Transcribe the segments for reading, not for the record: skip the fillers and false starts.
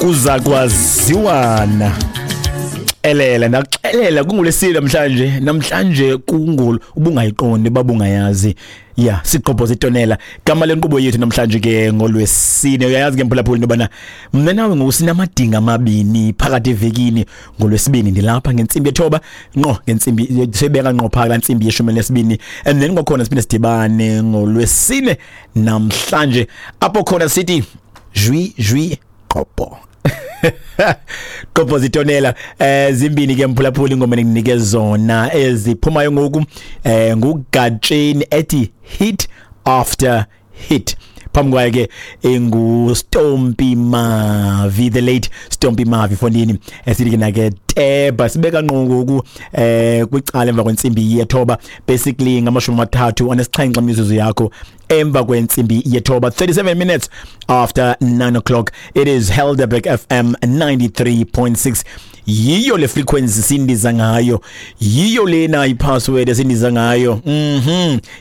Kuza kwaziwana. Xelela ndaxelela kungulesile namhlanje, namhlanje kungul ubungayiqondi babungayazi. Ya, sigqobhoza itonela. Gama lenkqubo yethu namhlanje ke ngolwesine. Uyayazi ke mphulaphuli into yobana mna nawe ngoku sinamadinga amabini phakathi evekini. Ngolwesibini ndilapha ngentsimbi yethoba ngqo, ngentsimbi sibeka ngqo phaka laa ntsimbi yeshumi elinesibini, and then kwakhona siphinde sidibane ngolwesine namhlanje apho khona sithi jwi jwi qobho qobho zitonela. Zimbini ke mphulaphuli ingoma endikunike zona eziphumayo ngoku, nguGatsheni ethi Hit After Hit, phambi kwayo ke enguStompy Mavi, the late Stompy Mavi fondini, esithi ke nake teba. Sibeka ngqo ngoku kwicala emva kwentsimbi yethoba, basically 37 imizuzu yakho emva kwentsimbi yethoba, 37 minutes after 9 o'clock. It is Helderberg FM 93.6. Yiyo le frequency sindiza ngayo, yiyo lena ipassword esindiza ngayo.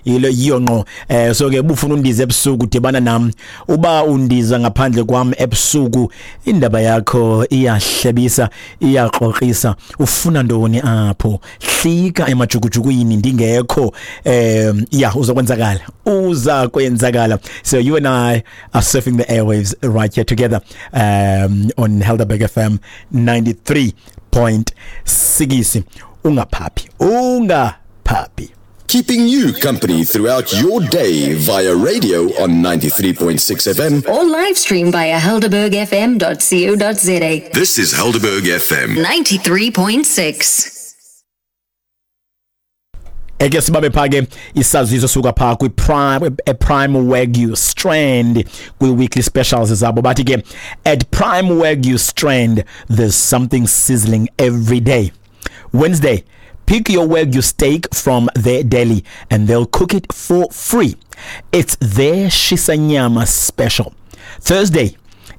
Yilo yiyo ngqo. So ke bufuna undiza ebusuku, dibana nam. Uba undiza ngaphandle kwam ebusuku, indaba yakho iyahlebisa, iyaqoqisa. Ufuna ntoni apho? Hlika emajukujukwini ndingekho. Ya, uzokwenzakala, uza kwenzakala. So you and I are surfing the airwaves right here together on Helderberg FM 93.6. Ungaphaphi, ungaphaphi. Keeping you company throughout your day via radio on 93.6 FM. Or live stream via helderbergfm.co.za. This is Helderberg FM. 93.6. Eke sibabe pha ke isaziso suka pha kwi Prime, Prime Wagyu Strand, kwi weekly specials zabo. Bathi ke at Prime Wagyu Strand there's something sizzling every day. Wednesday, pick your Wagyu steak from their deli and they'll cook it for free. It's their shisanyama special. Thursday,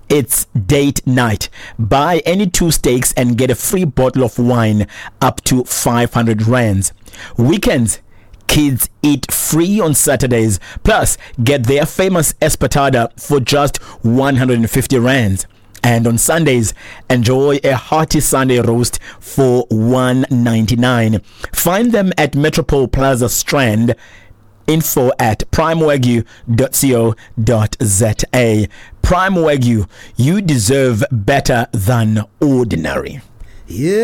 it's date night. Buy any two steaks and get a free bottle of wine up to 500 rands. Weekends, kids eat free on Saturdays. Plus, get their famous espetada for just 150 rands. And on Sundays, enjoy a hearty Sunday roast for 199. Find them at Metropole Plaza Strand. Info at primewagyu.co.za. Prime Wagyu, you deserve better than ordinary. Yeah.